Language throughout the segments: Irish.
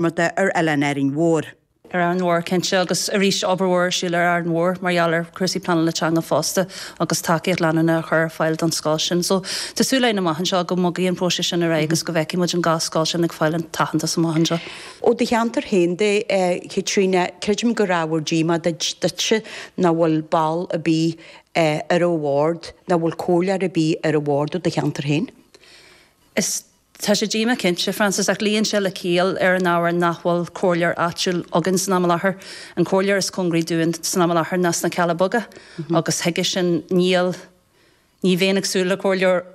Fhátharta ar Oileán Árainn Mhór. Ar Árainn Mhór, cinnte, agus arís obair mhór ar siúl ar Árainn Mhór mar gheall ar chúrsaí pleanála teanga fosta agus tacaíocht leanúnach a chur ar fáil don scoil sin. So tá súil againn amach anseo go mbogfaidh an próiseas sin ar aghaidh agus go bhfeicfidh muid an dhá scoil sin ag fáil an t-aitheantas amach anseo. Ó do cheantar féin de, a Chaitríona, creidim gur ábhar díomá duitse nach bhfuil ball ar bith ar an bhord, nach bhfuil comhairleoir ar bith ar an bhord ó do cheantar féin. Is Tá sé díomách cinnte, Frances, ach luíonn sé le ciall ar an ábhar nach bhfuil comhairleoir áitiúil againn san am i láthair. An comhairleoir is cóngaraí dúinn san am i láthair ná sna Cealla Beaga agus chuige sin níl, ní bheinn ag súil le comhairleoir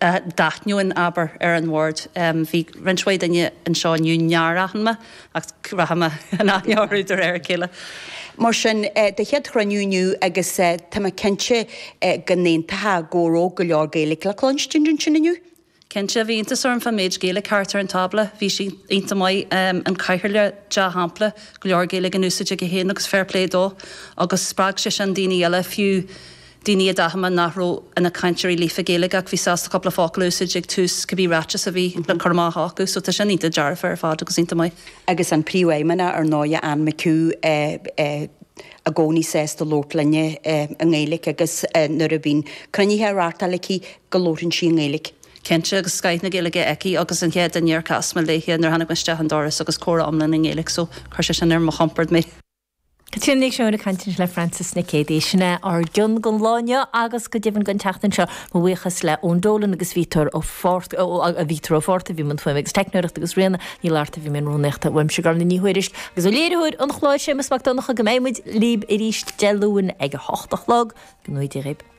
a d'aithneoinn, abair, ar an bhord. Bhí roinnt mhaith daoine anseo inniu nár aithin mé ach rachaidh mé in aithne orthu de réir a chéile. Mar sin, do chéad chruinniú inniu agus tá mé cinnte go n-aontófá go raibh go leor Gaeilge le cluinstin ansin inniu. Cinnte, bhí iontas orm fán méid Gaeilge thart ar an tábla. Bhí sé iontach maith. An Cathaoirleach, dea-shampla, go leor Gaeilge in úsáid aige féin agus fair play dó. Agus spreag sé sin daoine eile, fiú daoine a d'aithin mé nach raibh ina cainteoirí líofa Gaeilge ach bhí sásta cúpla focal a úsáid ag tús cibé ráiteas a bhí le cur amach acu. So tá sin iontach dearfa ar fad agus iontach maith. Agus an Príomhfheidhmeannach, ar ndóigh, Anne McHugh, i gcónaí sásta labhairt linne i nGaeilge agus nuair a bhíonn cruinnithe á reáchtáil aici go labhrann sí i nGaeilge. Cinnte, agus scoith na Gaeilge aici agus an chéad duine ar chas mé léithe nuair a tháinig mé isteach an doras agus comhrá iomlán i nGaeilge so chuir sé sin ar mo chompord mé. Caitríona Nic Seoin ag caint le Frances Nic Géadaigh. Sin é ár gcion don lá inniu agus go deimhin don tseachtain seo. Mo bhuíochas le Eoin Dolan agus Víoctóir Ó Víoctóir Ó Fátharta a bhí i mbun fuaime agus teicneoireachta agus Ríona Ní Fhlatharta a bhí i mbun rúnaíochta. Uaimse Gormfhlaith Ní Thuairisg agus ó léiritheoir an chláir Séamus Mac Donncha go mbeidh muid libh arís Dé Luain ag a hocht a chlog. Go ngnóthaí Dia dhaoibh.